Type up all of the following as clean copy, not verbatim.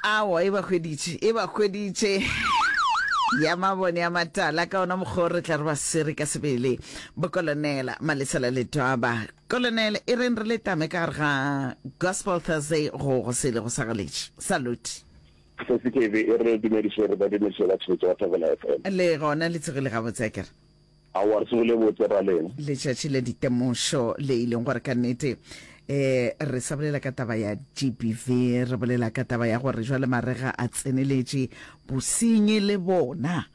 Aowa, e ba hweditše, e ba hweditše. Ya mabone a matala, ka ona mokgwa o re tla re ba swere ka sebele. Bokolonela Malesela Letwaba. Kolonele, e reng re le tame ka gare ga Gospel Thursday go go sele go sa galetše. Salute. Sesi KB, e re dumediše re ba dumediše ba tšheletše ba Thobela FM. Le gona le tsogile gabotse akere? Aowa, re tsogile botse ra lena. Letšatši la ditemošo le e leng gore ka nnete eh re sa bolela ka taba ya GBV, re bolela ka taba ya gore jwale marega a tseneletše, bosenyi le bona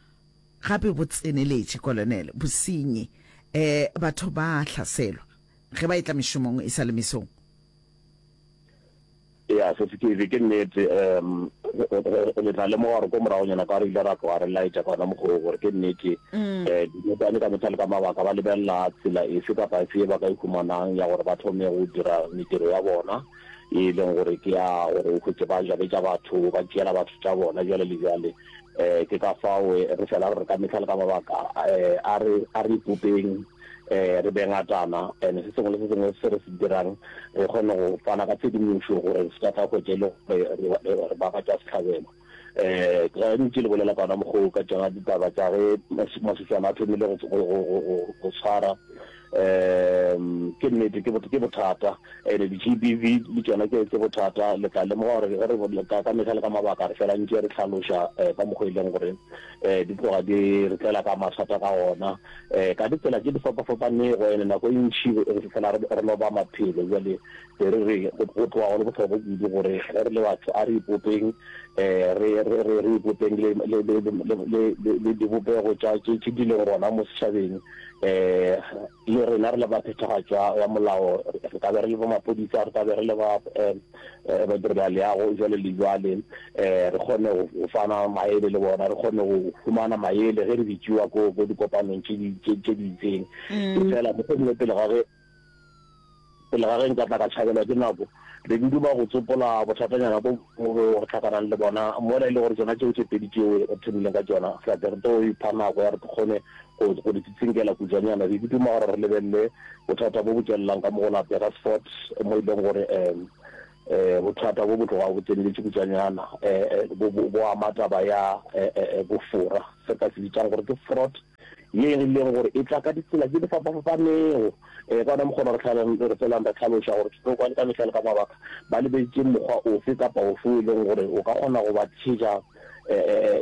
gape bo tseneletše, Kolonele, bosenyi. Eh batho ba hlaselwa ge ba etla mešomong e sa le mesong. Ea, se se ke ke nnete. Um, le tla lemoga gore ko moragonyana ka re ile ra tloga re laetša ka ona mokgwa oo gore ke nnete. Um, dinokwane ka mehla le ka mabaka ba lebelela tsela efe kapa efe ye ba ka e humanang ya gore ba thome go dira mediro ya bona e leng gore ke ya gore o hwetše ba jabetša batho, ba tšeela batho tša bona bjale le bjale. Um, ke ka fao re fela re re ka mehla le ka mabaka um a re a re ipopeng. um re be ngatana and se sengwe le se sengwe se re se dirang re kgone go fana ka tshedimošo gore re se ka tla hwetša e le gore re ba batšwa sehlabelo. Um ge ntše le bolela ka ona mokgwa o ka tšona ditaba tša ge maswiswana a thomile go tshwara um ke nnete ke bothata and di-G_B_V le tšona ke bothata. Le tla lemoga gore ge re ka mehla le ka mabaka re fela ntše re hlaloša ka mokgwa e leng gore um di tloga di re tlela ka mathata ka gona. um ka ditsela tše di fapafapanego, ene nako e ntši re fela re loba maphelo. Bjale be re re go tloga go le bohlokwa kudu gore ge re le batho a re ipopeng, um re, re, re, re ipopeng le, le, le, le, le, le, le dibopego tša tše, tše di leng gona mo setšhabeng. Um le rena re le ba phethagatšo ya molao, re ka be re le ba maphodisa, re ka be re le ba um badirelaleago, jwale le jwale, um re kgone go fana maele le bona, re kgone go humana maele ge re bitšiwa ko, ko dikopanong tše di, tše, tše di itseng. Efela mohlomongwe pele ga ge, pele ga ge nka tla ka tšhabelwa ke nako, be ke duma go tsopola bothatanyana bo bongwe bjo re hlakanang le bona mola e le gore tšona tšeo tše pedi tšeo re thomileng ka tšona, re tla re tlo ipha nako ya re kgone go, go di tsitsinkela kutšwanyana. Be ke duma gore re lebelele bothata bo bo tšwelelang ka mo go la Burgersfort, mo e leng gore um bothata bo bo tloga bo tseneletše kutšwanyana, um bo, bo, bo ama taba ya um bofora, se ka se bitsang gore ke fraud, ye e leng gore e tla ka ditsela tše di fapafapanego. Um ka ona mokgwa re re felang re hlaloša gore dinokwane ka mehla le ka mabaka ba lebetše mokgwa ofe kapa ofe o e leng gore o ka kgona go ba tšhetša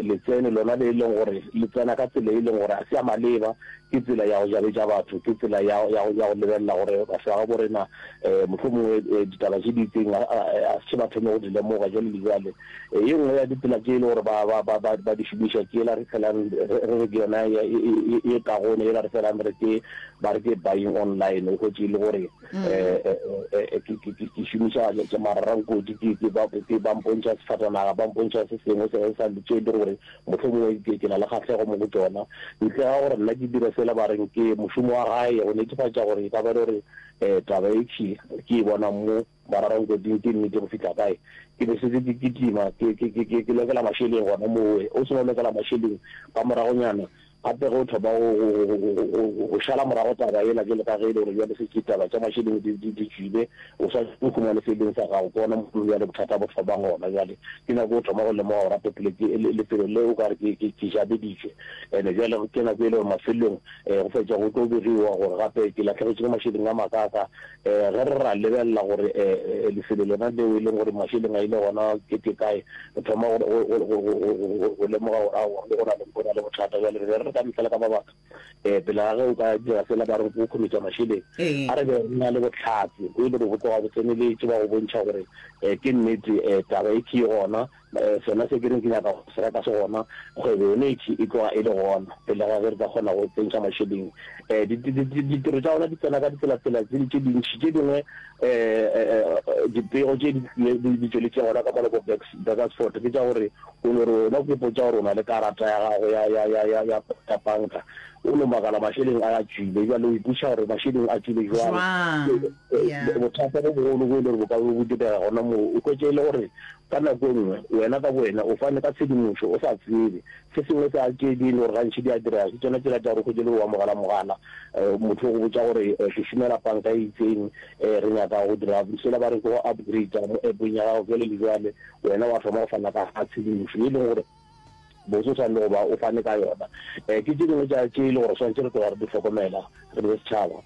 letseno lona le e leng gore le tsena ka tsela e leng gore a se ya maleba, ke tsela ya go jabetša batho, ke tsela ya, ya, ya go lebelela gore batho ba gabo rena um mohlomongwe ditaba tše di itseng a se ba thome go di lemoga jwale le jwale. Ye nngwe ya ditsela tše e le gore ba, ba, ba, ba, ba di šomiša ke yela re felang re re ke yona ye kagone, yela re felang re ke ba re ke buying online, o hwetše e le gore ke šomiša mararankodi, ke ba mpontšha sefatanaga, ba mpontšha se sengwe se sa tše e le gore mohlomongwe ke na le kgahlego mo go tšona, ntle ga gore nna ke dire sela ba reng ke mošomo wa gae go netefatša gore e ka ba le gore taba e ke e bonang mo mararankoding ke nnete go fihla kae. Ke be setse ke kitima ke lokela mašeleng gona mowe, o se no lokela mašeleng ka moragonyana Gape ge o thoma go šala morago taba yela bjalo ka ge e le gore bjale šetše taba tša mašeleng di tšwile, o swanetše go humane se e leng sa gago. Ke gona mo bjale bothata bo thomang gona. Bjale ke nako o thoma go lemoga gore gape lefelo le o ka re ke jabeditšwe. And-e bjale ke nako e le gore mafelelong go fetša go tlo begiwa gore gape ke lahlegetšwe ke mašeleng a makaaka. Ge re ra lebelela gore lefelo lona leo e leng gore mašeleng a ile gona ke ke kae, re thoma go lemoga gore aowa go na le go na le bothata. Bjale re be re re ka mehla le ka mabaka pele ga ge o ka dira sela ba re go khumetša mašeleng, a re be re na le bohlatse bo e le gore bo tloga bo tseneletše ba go bontšha gore ke nnete taba e ke gona. Sona se ke reng ke nyaka go se reka se gona, kgwebo yone e e tloga e le gona pele ga ge re ka kgona go tsentšha mašeleng. Ditiro tša gona di tsena ka ditsela-tsela tse tše dintši, tše dingwe dipego tše di tšweletšeng gona ka mola bo Burgersfort ke tša gore o no re wena o ipotša gore o na le karata ya gago ya ya panka, o no makala mašeleng a a tšwile. Bjale o ipotšiša gore mašeleng a tšwile jwang. Jwang? Yeah. Bothata bo bogolo bo e le gore bo ka be bo direga gona moo, o hwetše e le gore ka nako e nngwe wena ka bowena o fane ka tshedimošo o sa tsebe. Se sengwe sa tše di e le gore gantši di a direga ke tšona tšela tša gore o hwetše e le gore o amogela mogala, motho o go botša gore ke šomela panka e itseng, re nyaka go dira sela ba re ke go upgrader mo app-ong ya gago bjale le bjale, wena wa thoma go fana ka tshedimošo ye e leng gore botse o swanele go ba o fane ka yona. Ke tše dingwe tša tše e le gore swanetše re tloga re di hlokomela re le setšhaba,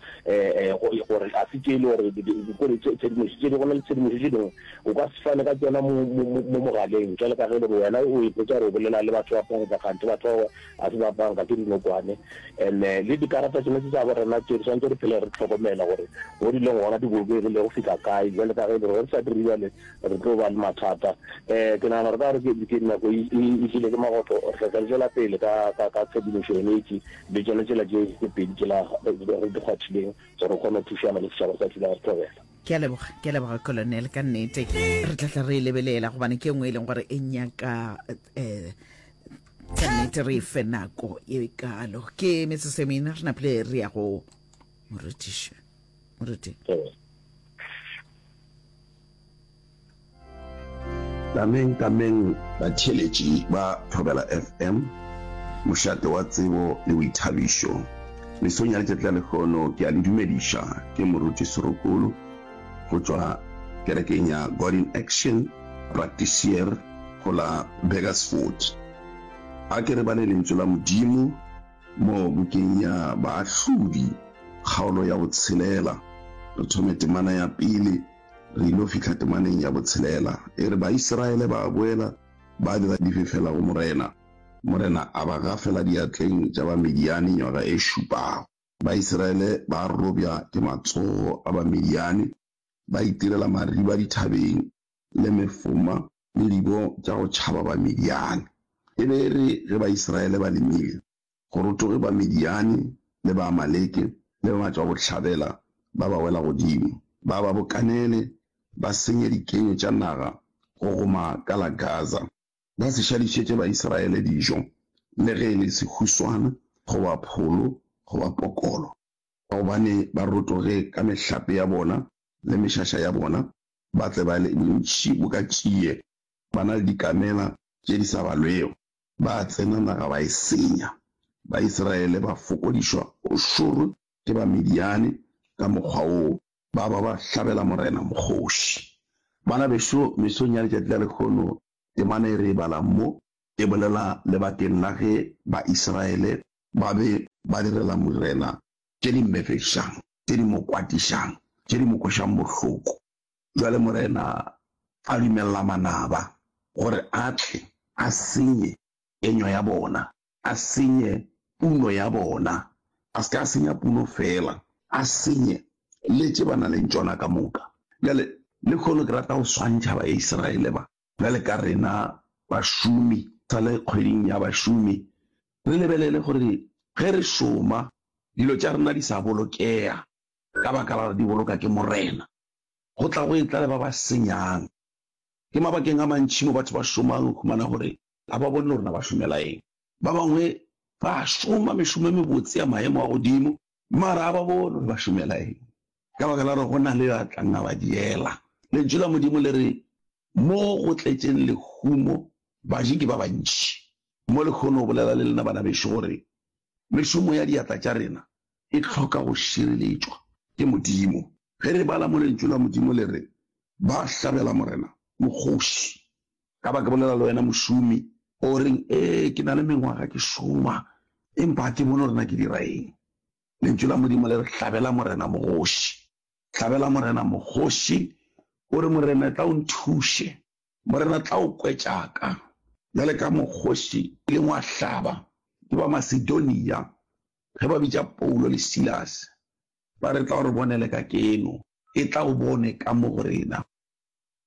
gore ga se tše e le gore kore tshedimošo tše di go na le tshedimošo tše dingwe o ka se fane ka tšona mo mo mogaleng jwale ka ge e le gore wena o ipotsa gore o bolela le batho ba panka kganthe batho bao ga se ba panka ke dinokwane. And-e le dikarata tšona tše tša bo rena tše re swanetše re phele re hlokomela gore mo di leng gona di bolokegile go fihla kae jwale ka ge e le gore ge re sa dire bjale Re tlo ba le mathata. Um ke nagana gore ka gore ke nako e e tlile ke magotlo, re tla tla re tšwela pele ka ka ka tshedimošo yone e tše le tšona tšela tše tše pedi tšela re di kgwathileng gore re kgone go thušana le setšhaba sa Thulare Thobela. Ke a leboga, ke a leboga Colonel, ka nnete re tla tla re e lebelela gobane ke e nngwe e leng gore e nyaka um ka nnete re e fe nako e kalo. Ke metsotso e mene re napile re ya go morutiši, moruti. Thobela. Tameng tameng batheeletši ba Thobela FM, mošate wa tsebo le boithabišo. Mesong ya letšatši la lehono ke a le dumediša, ke Moruti Serokolo go tšwa kerekeng ya God in Action Praktiseer go la Burgersfort. A ke re bale lentšu la Modimo mo bukeng ya Baahlodi kgaolo ya botshelela, re thome temana ya pele. Re ilo fihla temaneng ya botshelela. E re, Baisraele ba boela ba dira difefela go Morena. Morena a ba gafela diatleng tša Bamidiane nywaga e šupago. Baisraele ba robja ke matsogo a Bamidiane, ba itirela mariba dithabeng le mefoma le dibo tša go tšhaba Bamidiane. E be e re ge Baisraele ba lemile, Go rotoge Bamidiane le Baamaleke le ba matšwabohlabela ba ba wela godimo, ba ba bokanele, ba senye dikenyo tša naga go goma ka la Gaza. Ba se šadišetše Baisraele dijo, le ge e le sehuswana, goba pholo, goba pokolo, ka gobane ba rotoge ka mehlape ya bona le mešaša ya bona, ba tle ba le bontši boka tšie, ba na le dikamela tše di sa balwego. Ba tsena naga ba e senya. Baisraele ba fokodišwa o šoro ke Bamidiane ka mokgwa woo, ba ba ba hlabela Morena mokgoši. Bana bešo, mesong ya letšatši la lehono, temana e re e balang mo e bolela lebakeng la ge Baisraele ba be ba direla Morena tše di mmefešang, tše di mo kwatišang, tše di mo kwešang bohloko. Bjale Morena a dumelela manaba gore a tle a senye kenywa ya bona, a senye puno ya bona, a se ke a senya puno feela, a senye le tše ba naleng tšona ka moka. Bjale lehono ke rata go swantšha Baisraele ba bjale ka rena bašomi, sa le kgweding ya bašomi, re lebelele gore ge re šoma dilo tša rena di sa bolokega ka baka la gore di boloka ke Morena. Go tla go etla le ba ba senyang. Ke mabakeng a mantši mo batho ba šomang o humana gore ga ba bone le gore na ba šomela eng. Ba bangwe ba šoma mešomo e mebotse ya maemo a godimo mara ga ba bone gore ba šomela eng ka baka la gore go na le yo a tlang a ba diela. Lentšu la Modimo le re, Mo go tletšeng lehumo baji ke ba bantši. Mo lehono o bolela le lena bana bešo gore mešomo ya diatla tša rena e hloka go šireletšwa ke Modimo. Ge re bala mo Lentšu la Modimo le re, Ba hlabela Morena mokgoši. Ka ba ke bolela le wena mošomi, o reng, Ee, ke na le mengwaga ke šoma, empa ga ke bone gore na ke dira eng. Lentšu la Modimo le re, Hlabela Morena mogoši. Hlabela Morena mokgoši, o re, Morena, tla o nthuše. Morena, tla o kwe tša ka. Bjale ka mokgoši ileng wa hlaba ke ba Masedonia ge ba bitša Paulo le Silase, ba re, Tla o re bonele ka keno, etla o bone ka mo go rena.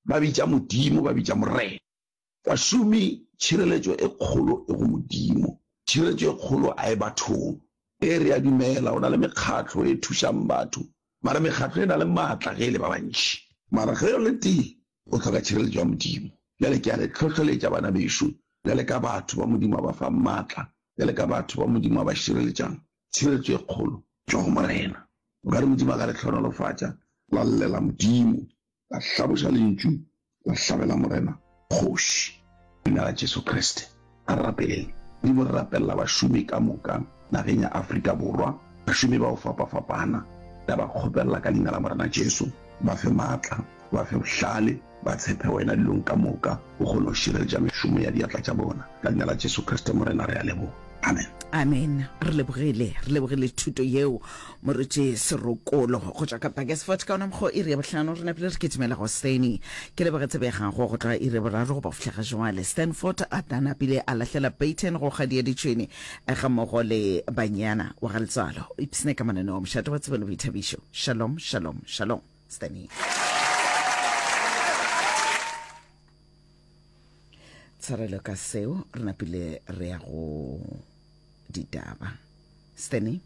Ba bitša Modimo, ba bitša Morena. Bašomi, tšhireletšo e kgolo e go Modimo. Tšhireletšo e kgolo a e bathong. Ee, re a dumela go na le mekgatlo e thušang batho, mara mekgatlo e na le maatla ge e le ba bantši. Mara ge o le tee, o hloka tšhireletšo ya Modimo. Bjale ke a le hlohleletša, bana bešo, bjale ka batho ba Modimo a ba fang maatla. Bjale ka batho ba Modimo a ba šireletšang, tšhireletšo e kgolo tšwa go Morena. O ka re Modimo a ka le hlohonolofatša, la llela Modimo, la hlaboša lentšu, la hlabela Morena kgoši. Leina la Jesu Kriste, a re rapeleng. Modimo, re rapelela bašomi ka moka nageng ya Afrika Borwa, bašomi ba go fapafapana. Re a ba kgopelela ka Leina la Morena Jesu, ba fe maatla, ba fe bohlale, ba tshepe Wena dilong ka moka, o kgone go šireletša mešomo ya diatla tša bona. Ka Leina la Jesu Kriste Morena re a leboga. Amen. Amen. Re lebogile, re lebogile thuto yeo, Moruti Serokolo, go tšwa ka Burgersfort. Ka ona mokgwa iri ya bohlano re napile re kitimela go Steny. Ke leboge tsebe ya gago go tloga iri ya boraro go ba go fihla ga jwale. Stanford a ta napile a lahlela Peyton go kgadi ya ditšhwene gammogo le Banyana wa ga Letswalo. Ipsne ka mananeo a mošate wa tsebo le boithabišo. Shalom, shalom, shalom. Steny. Tshwarelo ka seo, re napile re ya go ditaba. Steny.